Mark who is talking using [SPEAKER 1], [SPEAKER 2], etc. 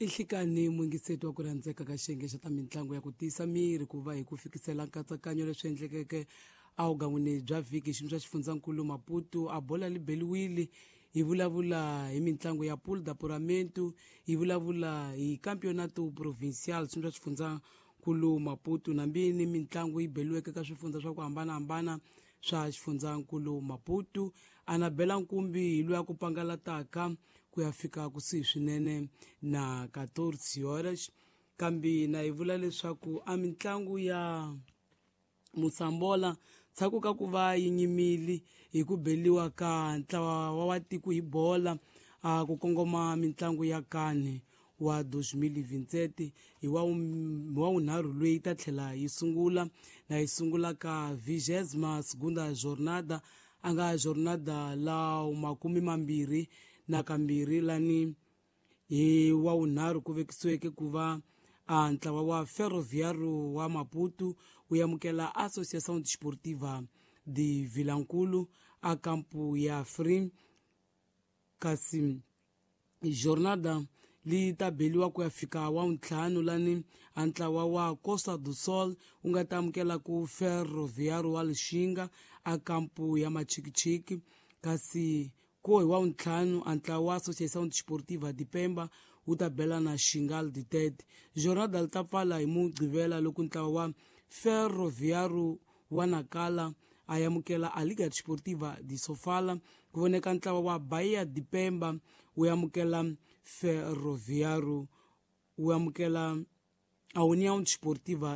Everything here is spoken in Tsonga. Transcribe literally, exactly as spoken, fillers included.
[SPEAKER 1] I nhlikani muyingiseti wa ku rhandzeka ka xiyenge xa ta mitlangu ya ku tiyisa miri ku va hi ku fikisela nkatsakanyo leswi endlekeke evugan'wini bya vhiki xiyimo xa xifundzankulu Maputo a bola li beliwile. Hi vulavula hi mitlangu ya Pool d'Apuramento, hi vulavula hi Campeonato Provincial xiyimo xa xifundzankulu Maputo, nambi ni mitlangu yi beliweke ka swifundza swa ku hambanahambana swa xifundzankulu Maputo. Anabela Nkumbi hi loyi a ku pangalataka ku ya fika kusuhi swinene na quatorze horas, kambe na yi vula leswaku a mitlangu ya Mosambola ndzhaku ka ku va yi nyimile hi ku beliwa ka ntlawa wa wa tiko hi bola a ku kongoma mitlangu ya kani wa dos mil vinte hi wa wa wunharhu loyi ta tlhela yi sungula na yi sungula ka vigésima segunda jornada, a nga jornada la makumi mambirhi na kambirhi lani hi wa wunharhu ku vekisiweke ku va a ntlawa wa Ferroviário wa Maputo wu amukela Associação Desportiva de Vilankulu a kampu ya Free, kasi jornada li ta beliwa ku ya fika wa ntlhanu lani a ntlawa wa Costa do Sol wu nga ta amukela ku Ferroviário wa Lixinga a kampu ya Machikichiki, kasi ko hi wa ntlhanu a ntlawa wa Associação Desportiva de Pemba wu ta bela na Xingal de Tete. Jornada li ta pfala hi Mugqivela loko ntlawa wa Ferroviário wa Nacala a amukela a Liga Desportiva de Sofala, ku voneka ntlawa wa Bahia de Pemba wu amukela Ferroviário wu amukela a União Desportiva.